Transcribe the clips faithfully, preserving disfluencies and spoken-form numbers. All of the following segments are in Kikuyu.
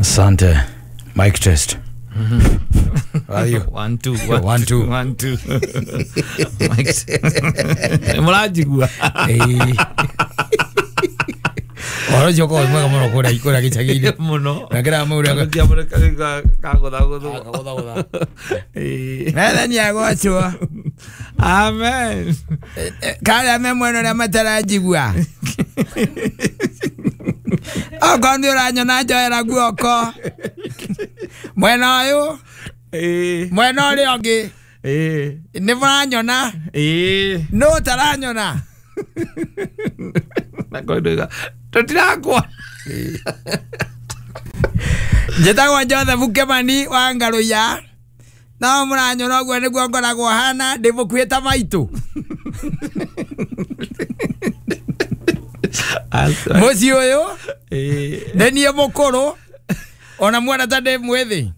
Asante. Mic test. How are you? One, two, one, One, two. One, two. Mic. Mũranjigua? Ĩĩ. Ũhoro ũcio ũkoragwo wĩ mwega mũno kũrĩa kũrĩa gĩcagi-inĩ. Mũno. Na kĩrĩa mũrĩa Kagũthagũthwo. kagũthagũtha. Ĩĩ. Mwathani agocwo. Amen. Karĩa me mwena ũrĩa mataranjigua. Okorwo nĩ ũranyona njoera guoko. Mwena ũyũ, Ĩĩ. mwena ũrĩa ũngĩ. Ĩĩ. Nĩ mũranyona? Ĩĩ. Nũ ũtaranyona? Na koiga tũtirakwa. Njĩtagwo Joseph Kimani wa Ngarũiya. No mũranyona ũguo nĩguo ngoragwo hana, ndĩ mũkuhĩ ta maitũ. Mũciĩ ũyũ Ĩĩ. nĩ niĩ mũkũrũ ona muona ta ndĩ mwĩthĩ.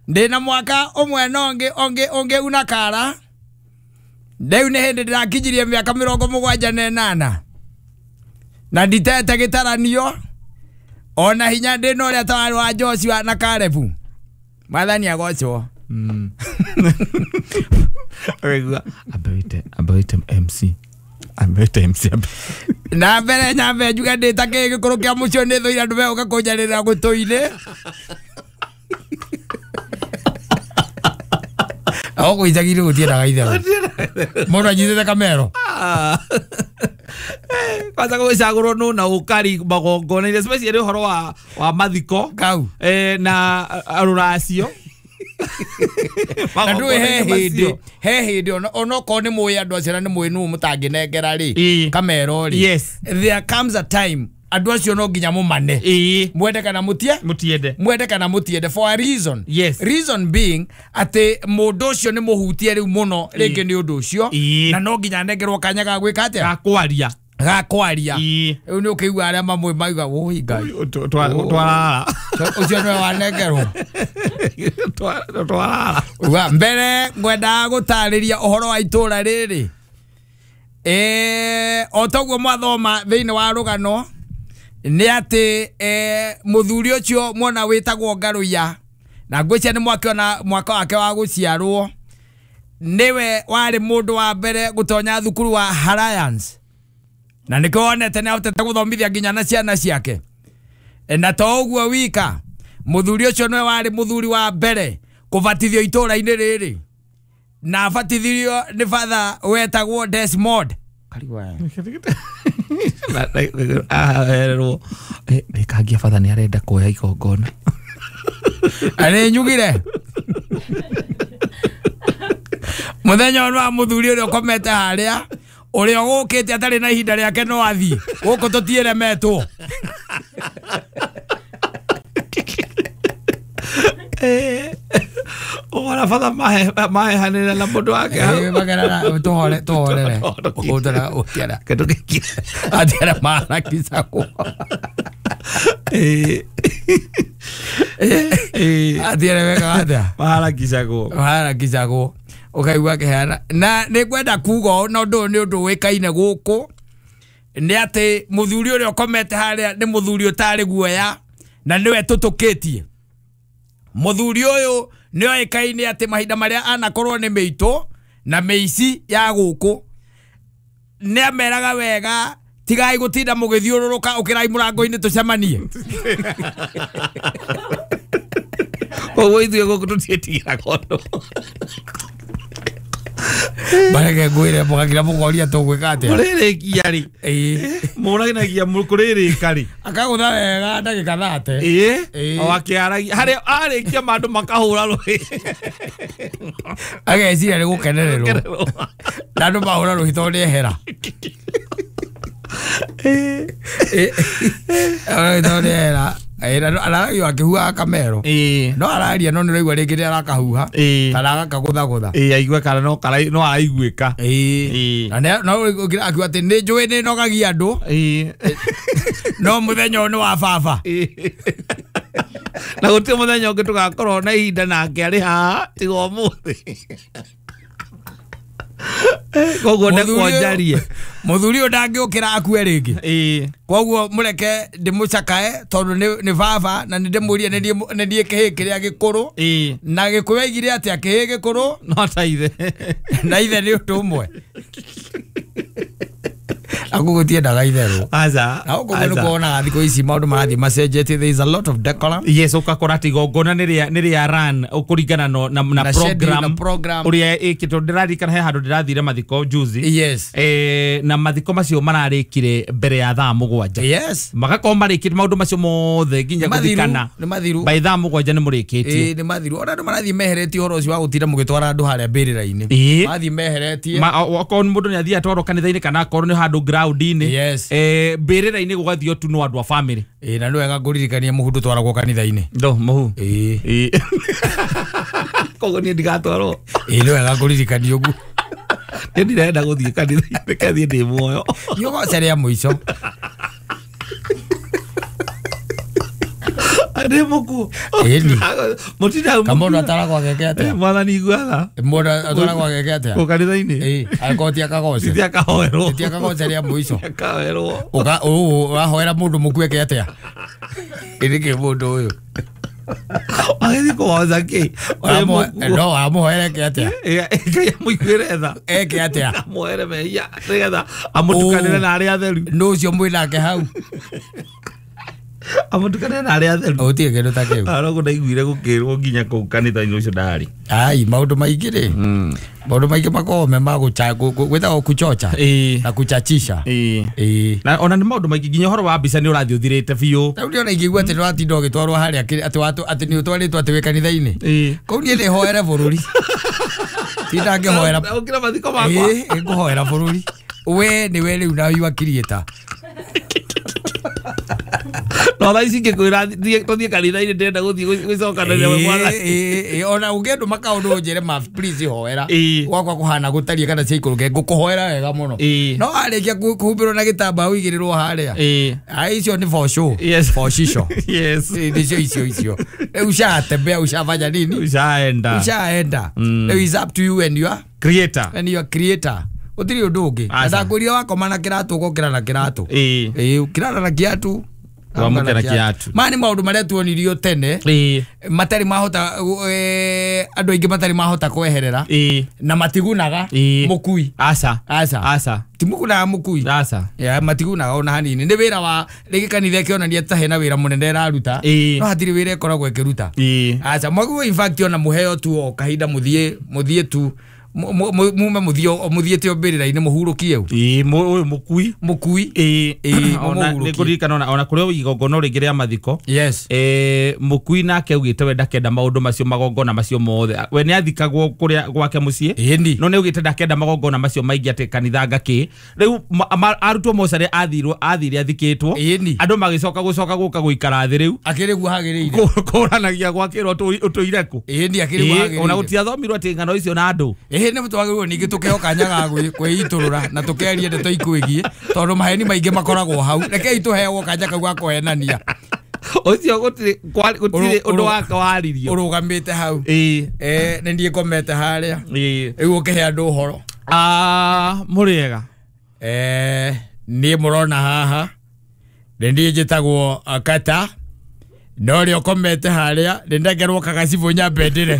Ndĩna mwaka ũmwe na ũngĩ ũngĩ ũngĩ una kara. Rĩu nĩ hĩndĩ ndĩrakinyirie mĩaka mĩrongo mũgwanja na ĩnana. Na nditete gĩtaranio ona hinya ndĩna ũrĩa ta warĩ wa Joshua na Kalebu. Mwathani agocwo. Mm. Ũraigua amba wĩte amba wĩte M C. Amba wĩte M C amba. Na mbere nyambe njuge ndĩ ta kĩ gĩkũrũ kĩa mũciĩ nĩ thũire andũ megũka kũnjarĩrĩra gũtũ-inĩ. Gũkũ icagi-inĩ gũtiendaga itherũ. Mũndũ anyitĩte kamero. Kwanza gũgĩcagũrwo nũ na ũkari magongona-inĩ especially ũhoro wa wa mathiko Kau. eh, na rũracio. Na ndũĩ he Magongona-inĩ hĩndĩ macio. he hĩndĩ ona onokorwo nĩ mũĩ andũ acio na nĩ mũĩ nũ mũtangĩnengera rĩ Ĩĩ. kamero rĩ. Yes. There comes a time andũ acio no nginya mũmane. Ĩĩ. Mwende kana mũtie Mũtiende. mwende kana mũtiende for a reason. Yes. Reason being atĩ mũndũ ũcio nĩ mũhutie rĩu mũno rĩngĩ nĩ ũndũ ũcio Ĩĩ. na no nginya anengerwo kanya ga gwĩka atĩa Ga kwaria. ga kwaria. Ĩĩ. Rĩu nĩ ũkĩigua arĩa mamwe mauga ũi Ngai Twarara. ũcio nĩwe wanengerwo. Twarara. Uga mbere ngwendaga gũtarĩria ũhoro wa itũra rĩrĩ. Eh, o toguo mwathoma thĩinĩ wa rũgano nĩ atĩ eh, mũthuri ũcio mwona wĩtagwo Ngarũiya na ngwĩciria nĩ mwakĩona mwaka wake wa gũciarwo nĩwe warĩ mũndũ wa mbere gũtonya thukuru wa Alliance na nĩkĩo wonete nĩ ahotete gũthomithia nginya na ciana ciake. E, na to ũguo wika mũthuri ũcio nĩwe warĩ mũthuri wa mbere kũbatithio itũra-inĩ rĩrĩ na abatithirio nĩ father wetagwo Desmond. Ahererwo rĩkangia batha nĩ arenda kuoya igongona. Arĩ nyugire mũthenya ũyũ wa mũthuri ũrĩa ũkomete harĩa ũrĩa ũgũkĩte atarĩ na ihinda rĩake no athiĩ gũkũ tũtiĩremetwo. Ũhora batha mahehanĩra na mũndũ wake hau. Ĩĩ, magerana tũhore tũhorere ũtara ũtiara Kĩndũ gĩkĩ. atiara maharakicagwo. Ĩĩ. Ĩĩ. Atiara wekaga atĩa Maharakicagwo. maharakicagwo ũkaigua akĩheana na nĩ ngwenda kuga ũũ na ũndũ ũyũ nĩ ũndũ ũĩkaine gũkũ nĩ atĩ mũthuri ũrĩa ũkomete harĩa nĩ mũthuri ũtarĩ guoya na nĩwe tũtũkĩtie. Mũthuri ũyũ nĩ oĩkaine atĩ mahinda marĩa anakorwo nĩ mĩitũ na mĩici ya gũkũ nĩ ameraga wega tigai gũtinda mũgĩthiũrũrũka ũkĩrai mũrango-inĩ tũcemanie. Koguo ithuĩ gũkũ tũtiĩtigĩraga ũndũ. Bareke ngwĩre mũgakira mũkoria tũgwĩka atĩa. Kũrĩrĩkia rĩ. Ĩĩ. Mũraginagia kũrĩrĩka rĩ. Akagũtha wega ndagĩka thate. Ĩĩ. Ĩĩ. O akĩaragia harĩa arĩkia mandũ makahũra rũhĩ. Ageciria nĩ gũkenererwo na andũ mahũra rũhĩ tondũ nĩ ehera. Ĩĩ. Ĩĩ. Tondũ nĩ ehera. Ĩĩ, na araragia akĩhuhaga kamero. Ĩĩ. No araria no nĩ ũraigua rĩngĩ nĩ arakahuha Ĩĩ. kana agakagũthagũtha. Ĩĩ aigue kana no karai no araiguĩka. Ĩĩ. Ĩĩ. Na nĩ- no ũkĩra akiuga atĩ nĩ njũĩ nĩ nogagia andũ Ĩĩ. no mũthenya ũyũ nĩ wa baba. Ĩĩ. Na gũtirĩ mũthenya ũngĩ tũgakorwo na ihinda nake arĩ haha tiga ũmũthĩ. Koguo ndekwo njarie. Muthuri uyu ndangĩũkĩra akue rĩngĩ. Ĩĩ. Koguo mũreke ndĩmũcakae tondũ nĩ nĩ baba na nĩ ndĩmũrie nĩ niĩ kĩhĩ kĩrĩa gĩkũrũ. Ĩĩ. Na Gĩkũyũ aigire atĩa kĩhĩ gĩkũrũ no ta ithe. Na ithe nĩ ũndũ ũmwe. Agũgũtiendaga itherũ. Aca. Na ũguo nĩ kuonaga thikũ ici maũndũ marathiĩ macenjetie, there is a lot of decorum. Yes, ũgakora atĩ igongona nĩ rĩa nĩ rĩa run ũkũringana no na na Na schedule, na program program. ũrĩa ĩkĩtwo. Ndĩraririkana he handũ ndĩrathire mathiko juzi. Yes. Eh, na mathiko macio mararĩkire mbere ya thaa mũgwanja. Yes. Magakorwo marĩkĩte maũndũ macio mothe nginya Nĩ mathiru, gũthikana. nĩ mathiru. By thaa mũgwanja nĩ mũrĩkĩtie. Ĩĩ nĩ mathiru. Ona andũ marathiĩ meheretie ũhoro ũcio wa gũtinda mũgĩtwara andũ harĩa mbĩrĩra-inĩ. Ĩĩ. Marathiĩ meheretie. Ma okorwo mũndũ nĩ athiĩ atwarwo kanitha-inĩ kana akorwo nĩ handũ ground-inĩ. Yes. Eh, mbĩrĩra-inĩ gũgathio tu no andũ a family. Ĩĩ na nĩ wega ngũririkania mũhu ndũtwaragwo kanitha-inĩ. Ndo mũhu. Ĩĩ. Ĩĩ. Koguo niĩ ndigatwarwo. Ĩĩ nĩ wega ngũririkania ũguo. Niĩ ndirenda gũthiĩ kanitha-inĩ kathiĩ ndĩ muoyo. Nĩ ũgoca rĩa mũico. Ndĩ mũkuũ. Ĩni. Mũtinda Kamũndũ atwaragwo ageke atĩa? Mwathani iguaga. Mũndũ atwaragwo ageke atĩa? Kũ kanitha-inĩ? Ĩĩ, angĩkorwo ti akagoce. Ti akahoerwo. Ti akagoce rĩa mũico. Akahoerwo. Ũka ũũ ũrahoera mũndũ mũkuũ eke atĩa? Ĩ nĩkĩ mũndũ ũyũ? Agĩthiĩ kũhoca kĩ? Ũramũhe- No wamũhoera eke atĩa? Ngai amũiguĩre tha. Eke atĩa? Amũhere mehia nĩgetha amũtukanĩre na arĩa atheru. Nũ ũcio mwĩnake hau? Amũtukanĩre na arĩa atheru. Gũtirĩ kĩndũ ta kĩu. Arogo ndaiguire gũkĩrwo nginya kũu kanitha-inĩ ũcio ndarĩ. Ai, maũndũ maingĩ rĩ. Maũndũ maingĩ makoragwo me ma gũcha gwĩtagwo kuchocha Ĩĩ. na kuchachisha. Ĩĩ. Ĩĩ. Na ona nĩ maũndũ maingĩ nginya ũhoro wa mbica nĩ ũrathiĩ ũthirĩte biũ. Rĩu ndĩrona ingĩigua atĩ nĩwatinda ũgĩtwarwo harĩa kĩ- atĩ watũ- atĩ nĩ ũtwarĩtwo atĩ wĩ kanitha-inĩ. Ĩĩ. Kũu niĩ ndĩhoere bũrũri. Tinda ngĩhoera. Ũkĩra mathiko makwa. Ĩĩ, ngũhoera bũrũri. We nĩwe rĩu na you are creator. No thaa ici ingĩkwĩra thiĩ tũthiĩ kanitha-inĩ ndĩrenda gũthiĩ gwĩcokanĩria na mwathani. Ĩĩ, ĩĩ, ona ũngĩndũma kaũndũ ũnjĩre ma please hoera. Ĩĩ. Gwakwa kũhana gũtariĩ kana ciaikũrũke ngũkũhoera wega mũno. Ĩĩ. No warĩkia kũhumbĩrwo na gĩtambaya ũigĩrĩrwo harĩa. Ĩĩ. Ai icio nĩ for show. Yes. For shisho. Yes. Ĩĩ, nĩcio icio icio. Rĩu ushatembea ushafanya nini? Ushaenda. Ushaenda. Rĩu is up to you and your Creator. and your creator. Gũtirĩ ũndũ ũngĩ. Na Aca. ndakwĩrire wakoma na kĩratũ ũgokĩra na kĩratũ. Ĩĩ. Ĩĩ, ũkĩrara na kĩatũ. Wamũkĩra na kĩatũ. Maya nĩ maũndũ marĩa tuonirio tene Ĩĩ. matarĩ mahota eh, andũ aingĩ matarĩ mahota kweherera Ĩĩ. na matigunaga Ĩĩ. mũkui. Aca. Aca. Aca. Timugunaga mũkui. Aca. Ya matigunaga ona hanini. Nĩ wĩra wa rĩngĩ kanitha ĩkĩonania ta hena wĩra mũnene ĩraruta. Ĩĩ. No hatirĩ wĩra ĩkoragwo ĩkĩruta. Ĩĩ. Aca mwaguo in fact ona mũheo tu o kahinda mũthiĩ mũthiĩ tu mu- mu- mume mũthiĩ mũthiĩte o mbĩrĩra-inĩ mũhurũkie u. Ĩĩ, mũ- ũyũ mũkui. Mũkui. Ĩĩ. Ĩĩ, Ona mũmũhurũkie. nĩngũririkana ona ona kũrĩ igongona rĩngĩ rĩa mathiko. Yes. Eh, mũkui nake augĩte we ndakenda maũndũ macio magongona macio mothe. We nĩ athikagwo kũrĩa gwake mũciĩ. Ĩni. No nĩ augĩte ndakenda magongona macio maingĩ atĩ kanitha ngakĩ. Rĩu ma- ma- arutwo mocarĩ athirwo athire athikĩtwo. Ĩni. Andũ magĩcoka gũcoka gũka gũikara thĩ rĩu. Akĩrĩ guo hagĩrĩire. Kũ- Kũranagia gwakĩrwo ũtũire kũ. Ĩni akĩrĩ guo Ĩĩ, ona hagĩrĩire. gũtiathomirwo atĩ ng'ano icio na andũ. Ĩhĩ nĩ twagĩrĩirwo ningĩ tũkĩheo kanya ga gwĩ- kwĩitũrũra na tũkeria ndeto ikwĩgiĩ tondũ maheni maingĩ makoragwo hau. Rekei tũheagwo kanya kau ga kũhenania. Ũcio gũtirĩ kwa- gũtirĩ Ũrũ- ũndũ ũrũ- wake waririo. Ũrũgamĩte hau. Ĩĩ. Eh, nĩ niĩ ngomete harĩa. Ĩĩ. Rĩu ũkĩhe andũ ũhoro. Ah, mũrĩega. Eh, niĩ mũrona haha nĩ niĩ njĩtagwo uh, Kata na ũrĩa ũkomete harĩa nĩ ndengerwo kagacibũ nyambe ndĩre.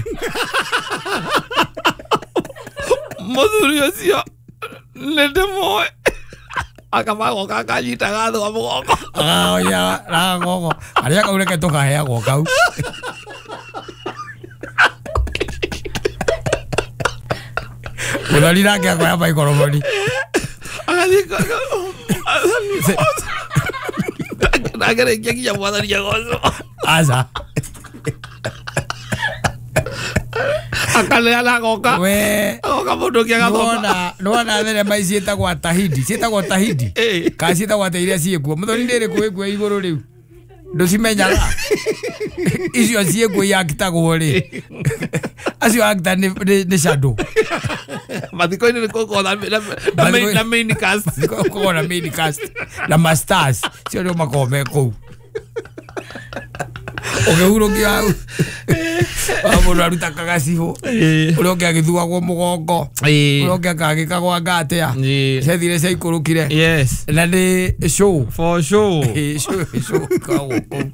Mũthuri ũcio nĩ ndĩmũĩ. Akamagoka akanyitaga thĩ wa mũgongo. Agaoya ragogo arĩa kau reke tũkaheagwo kau. Mũthoni nake akoya maikoroboni. Agathiĩ ndagerĩkia nginya mwathani agocwo. Aca. Akaneana agoka. We Agoka mũndũ ũngĩ agathoma. nĩwona nĩwona thenema ici ciĩtagwo Tahidi ciĩtagwo Tahidi Ĩĩ. kana ciĩtagwo atĩa iria ciĩkuo mũthoni nĩ ĩrĩkũ ĩkuo igũrũ rĩu ndũcimenyaga icio ciĩkuo iakitagwo rĩ acio actor nĩ nĩ- nĩ shadow Mathiko-inĩ nĩ gũkorwo na- na- na main- na main cast. Gũkorwo na main cast na masters cio nĩo makoragwo me kũu ũkĩhurũkio hau. Mũndũ aruta kagacibũ ũrĩa ũngĩ agĩthuagwo mũgongo ũrĩa ũngĩ akagĩkagwa ngatia ciathire ciaikũrũkire. Yes. Na nĩ show. For sure. Show show ĩkoragwo kũu.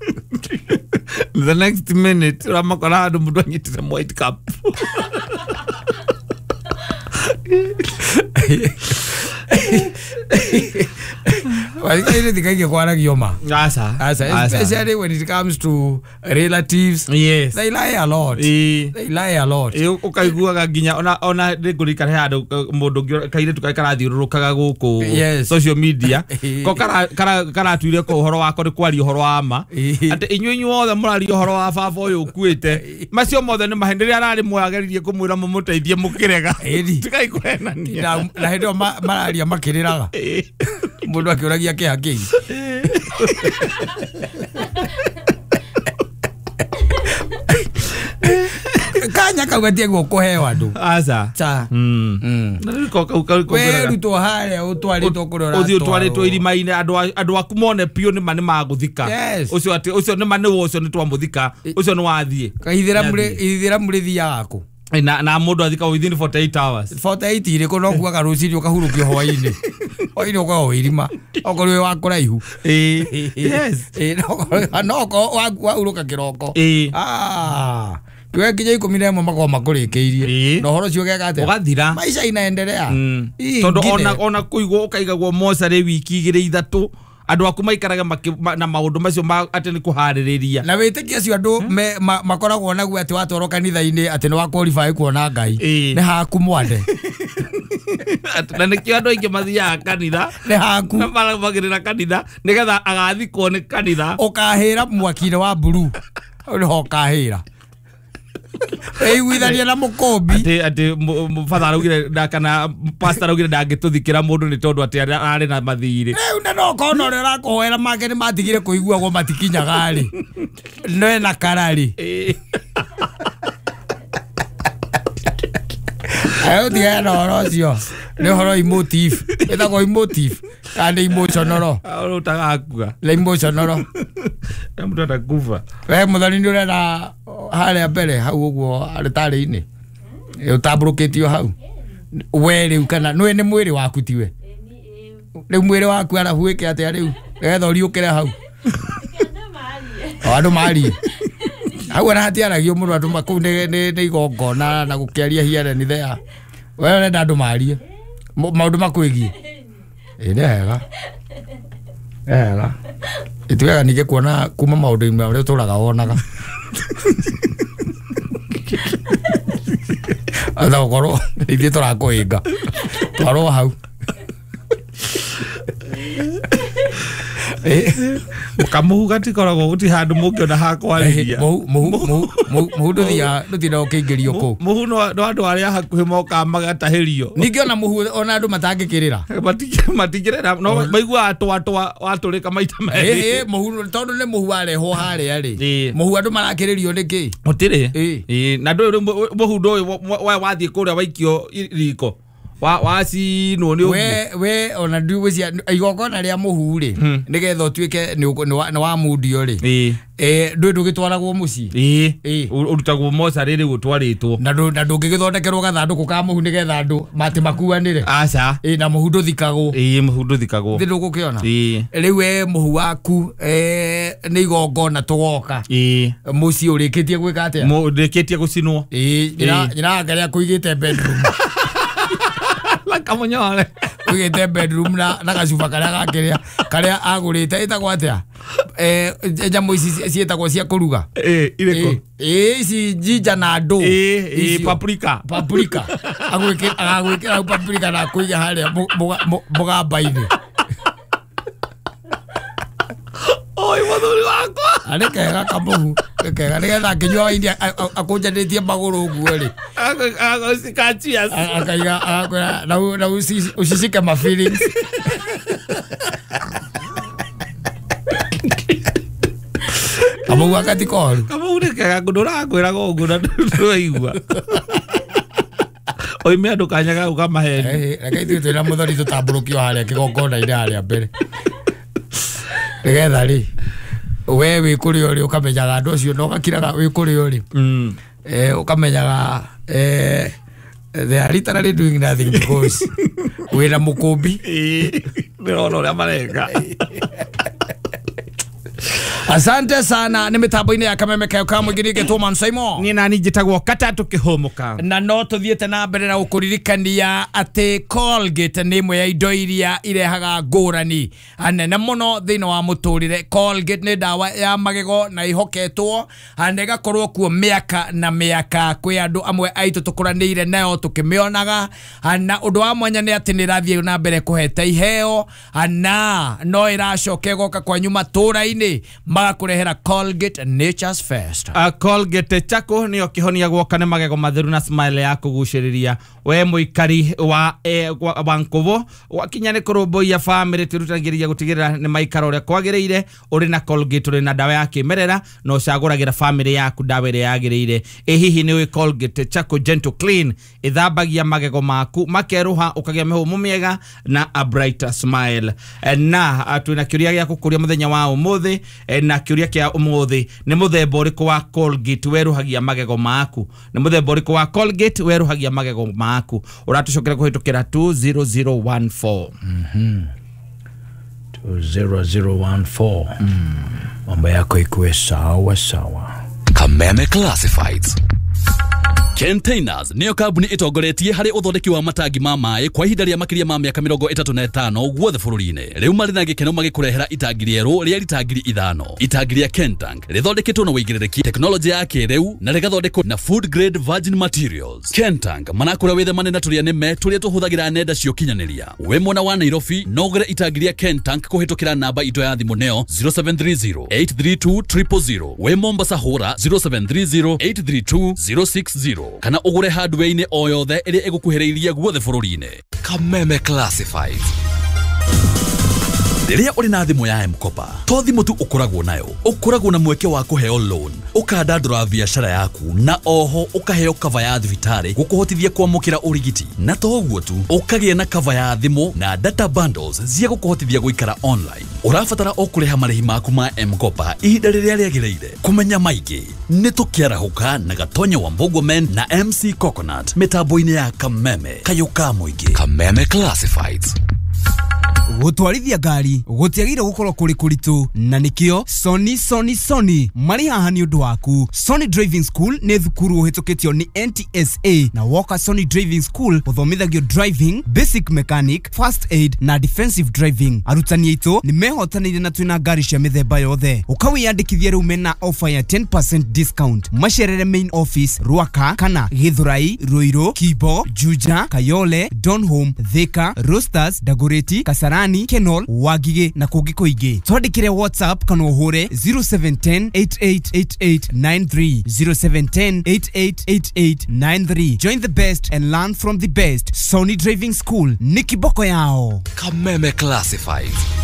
The next minute ũramakora handũ mũndũ anyitĩte white cup. Well, thikaingĩ kwaragio ma. Aca. Aca, especially when it comes to relatives. Yes. They lie a lot. They lie a lot. Ũkaiguaga nginya ona ona nĩngũririkana he handũ mũndũ ũngĩ kairĩtu karĩa karathiũrũrũkaga gũkũ social media ko karatuire ko ũhoro wako nĩ kwaria ũhoro wa ma atĩ inyuĩ inyuothe mũraria ũhoro wa baba ũyũ ũkuĩte macio mothe nĩ maheni rĩrĩa ararĩ muoyo ageririe kũmwĩra mũmũteithie mũkĩrega tigai kũhenania na hĩndĩ ĩyo mararia makĩrĩraga mũndũ akĩũragia kĩha kĩi. Kanya kau gatiagwo kũheo andũ. Aca. Cha. We rutwo harĩa ũtwarĩtwo kũrĩa ũthiĩ ũtwarĩtwo irima-inĩ andũ andũ aku mone piũ nĩma nĩ magũthika. Ũcio atĩ ũcio nĩma nĩ ũcio nĩ twamũthika ũcio nĩ wathiĩ. Ithĩra mũrĩthiaga kũ? Na na mũndũ athika within forty-eight hours. forty-eight irĩkũ no kuaga rũcinĩ ũkahurũkio hwaĩ-inĩ. Hwaĩ-inĩ ũkoragwo wĩ irima okorwo wĩ wa kũraihu. Yes. No okorwo wahurũka kĩroko. Ah. Kiwe kinya ikũmi na ĩmwe makoragwo makũrĩkĩirie na ũhoro ũcio ũgeka atĩa? Ũgathira. Maica inaendelea. Tondũ ona ona kũigwo ũkaigagwo mocarĩ wiki igĩrĩ ithatũ andũ aku maikaraga na maũndũ macio atĩ nĩ kũharĩrĩria na wĩtĩkia acio andũ makoragwo naguo atĩ watwarwo kanitha-inĩ atĩ nĩ wa qualify kuona Ngai nĩ haku mwande. Na nĩkĩo andũ aingĩ mathiaga kanitha nĩ haku na marũmagĩrĩra kanitha nĩgetha agathikwo nĩ kanitha. Ũkahĩra mwaki-inĩ wa mburu hau nĩho ũkahĩra ĩiguithania na mũkũmbi atĩ atĩ father araugire kana pastor araugire ndangĩtũthikĩra mũndũ nĩ tondũ atĩ ararĩ na mathirĩ. Rĩu na no ũkona ũrĩa ũrakũhoera make nĩ matigire kũiguagwo matikinyaga rĩ no ena kararĩ. Ayo tigana na ũhoro ũcio nĩ ũhoro emotive ĩtagwo emotive kana nĩ emotional ũrĩa ũtagakua nĩ emotional na mũndũ atakufa. We mũthoni nĩ ũrenda harĩa mbere hau ũguo arĩtarĩ-inĩ ũtambũrũkĩtio hau we rĩu kana nĩwe nĩ mwĩrĩ waku tiwe rĩu mwĩrĩ waku arabu wĩke atĩa rĩu nĩgetha ũriũkĩre hau o andũ marie hau ona hatiaragio mũno andũ kũu nĩ igongona na gũkĩaria here and there we ũrenda andũ marie maũndũ makwĩgiĩ. Ĩ nĩ hega nĩ hega ĩtuĩkaga ningĩ kuona kuma maũndũ-inĩ marĩa ũtũraga wonaga atha gũkorwo ithuĩ tũrakũhĩnga twarwo hau. Kamũhu gatikoragwo gũtirĩ handũ mũngĩona ha kwarĩria. Mũhu ndũthiaga ndũtindaga ũkĩingĩrio kũu. Mũhu no andũ arĩa hakuhĩ mokaga magatahĩrio. Ningĩ ona mũhu ona andũ matangĩkĩrĩra. Matingĩrĩra no maiguaga twa twa watũrĩka maita merĩ. Ĩ mũhu tondũ nĩ mũhu warehwo harĩa rĩ. Mũhu andũ marakĩrĩrio nĩkĩ? Gũtirĩ. Ĩ na ndũĩ mũhu ndũĩ wathiĩ kũrĩa waikio riko. Wa wacinwo nĩ we we ona ndigwĩcia igongona rĩa mũhu rĩ nĩgetha ũtuĩke nĩ wa mundio rĩ eh ndũĩ ndũgĩtwaragwo mũciĩ. Ĩ ũrutagwo mocarĩ rĩu ũtwarĩtwo na ndũngĩgĩthondekerwo gathandũkũ ka mũhu nĩgetha andũ matĩ makuanĩre. Aca. Ĩ na mũhu ndũthikagwo. Ĩ mũhu ndũthikagwo thĩ ndũgũkĩona. Ĩ rĩu we mũhu waku eh nĩ igongona tũgoka ĩ mũciĩ ũrĩkĩtie gwĩka atĩa? Ũrĩkĩtie gũcinwo. Ĩ nyina karĩa kũigĩte bedroom kamunyore wigite bedroom na na gacuba karia gakiria karia agurite itagwo atia eh nyamũ ici ciĩtagwo cia kũruga eh irĩkũ eh ici jinja na ndũ eh eh paprika paprika agwikira agwikira paprika na kũiga harĩa mũgamba-inĩ. Oi mũthuri wakwa arĩ kega kamũhu kega nĩgetha akĩnyua waini akũnjanĩtie magũrũ ũguo rĩ akaiga agakwĩra na ucicike ma feelings. Kamũhu aka ti koru. Kamũhu nĩ kega ngũndũ ũrakwĩraga ũguo na ndũraigua. Oime andũ kanya ga ũkamaheni. Reke ithuĩ twĩna mũthoni tũtambũrũkio harĩa kĩgongona-inĩ harĩa mbere nĩgetha rĩ we wĩ kũrĩa ũrĩ ũkamenyaga andũ acio na ũgakiraga wĩ kũrĩa ũrĩ eh ukamenyaga eh they are literally doing nothing because wira mukumbi ndĩrona ũrĩa mareka. Asante sana ni mitambo-inĩ ya Kameme kayo ka mũingĩ nĩngĩtwo Man Simon. Niĩ nani njĩtagwo Katatũ Kĩhũmũka. Na no tũthiĩte na mbere na gũkũririkania atĩ Colgate nĩ ĩmwe ya indo iria irehaga ngũrani nene mũno thĩinĩ wa mũtũrĩre. Colgate nĩ ndawa ya magego na ihoketwo na ĩgakorwo kuo mĩaka na mĩaka. Kwĩ andũ amwe aitũ tũkũranĩire nayo tũkĩmĩonaga, na ũndũ wa mwanya nĩ atĩ nĩ ĩrathiĩ na mbere kũheta iheo na no ĩracoka ĩgoka kwanyu matũra-inĩ magakũrehera Colgate Nature's First. Uh, Colgate chako niyo kĩhonia gwoka nĩ magego matheru na smile ya kũgucĩrĩria. We mũikari wa eh, wa Nkubo wakinya nĩ kũrũmbũiya family twĩrutanagĩria gũtigĩrĩra nĩ maikara ũrĩa kwagĩrĩire. Ũrĩ na Colgate ũrĩ na ndawa ya kĩmerera na ũcagũragĩra family yaku ndawa ĩrĩa yagĩrĩire. Ĩ hihi nĩ ũĩ Colgate Charcoal Gentle Clean ĩthambagia magego maku makerũha ũkagĩa mĩhũmũ mĩega na a brighter smile. Na twĩna kĩũria gĩa gũkũria mũthenya wa ũmũthĩ, na kĩũria kĩa ũmũthĩ nĩ mũthemba ũrĩkũ wa Colgate werũhagia magego maku? Nĩ mũthemba ũrĩkũ wa Colgate werũhagia magego maku? Ũratũcokera kũhĩtũkĩra two zero zero one four. Mhm. two zero zero one four. Mambo yako ikuwe sawa sawa. Kameme Classifieds. Containers niyo kambuni itongoretie harĩ ũthondeki wa matangi ma maĩ kwa ihinda rĩa makĩria ma mĩaka mĩrongo ĩtatũ na ĩtano guothe bũrũri-inĩ. Rĩu marĩ na gĩkeno magĩkũrehera itangi rĩerũ rĩa rita ngiri ithano. Itangi rĩa Kentank rĩthondeketwo na wĩigĩrĩrĩki tekinoronjĩ ya kĩrĩu na rĩgathondekwo na food grade virgin materials. Kentank manakũra wĩthemane na tũrĩa nĩme tũrĩa tũhũthagĩra nenda cia ũkinyanĩria. Wĩ mwena wa Nairobi no ũgũre itangi rĩa Kentank kũhĩtũkĩra namba itũ ya thimũ neo zero seven three zero eight three two triple zero. Wĩ Mombasa hũra zero seven three zero eight three two zero six zero kana ũgũre hardware-inĩ o yothe ĩrĩa ĩgũkuhĩrĩirie guothe bũrũri-inĩ. Kameme Classifieds. Rĩrĩa ũrĩ na thimũ ya M-Kopa to thimũ tu ũkoragwo nayo, ũkoragwo na mweke wa kũheo loan, ũkandandũra biacara yaku na oho ũkaheo cover ya thibitarĩ gũkũhotithia kwamũkĩra ũrigiti, na to ũguo tu ũkagĩa na cover ya thimũ na data bundles cia gũkũhotithia gũikara online. Ũrabatara o kũrĩha marĩhi maku ma M-Kopa ihinda rĩrĩa rĩagĩrĩire. Kũmenya maingĩ nĩ tũkĩarahũka na Gatonya wa Mbogwa Men na M C Coconut mĩtambo-inĩ ya Kameme kayũ ka mũingĩ. Kameme Classifieds. Gũtwarithia ngari gũtiagĩrĩire gũkorwo kũrĩ kũritũ, na nĩkĩo Sony Sony Sony marĩ haha nĩ ũndũ waku. Sony Driving School nĩ thukuru ũhĩtũkĩtio nĩ N T S A, na woka Sony Driving School ũthomithagio driving, basic mechanic, first aid na defensive driving. Arutani aitũ nĩ mehotanĩire na twĩna ngari cia mĩthemba yothe. Ũkawĩyandĩkithia rĩu mena offer ya ten percent discount. Macerere main office Ruaka kana Githurai, Ruiru, Kibo, Juja, Kayole, Donholm, Thika, Roasters, Dagoretti, Kasarani, Kenol, Wagige na kũngĩ kũingĩ. Twandĩkĩre WhatsApp kana ũhũre zero seven ten eight eight eight eight nine three, zero seven ten eight eight eight eight nine three. Join the best and learn from the best. Sony Driving School ni kiboko yao. Kameme Classifieds.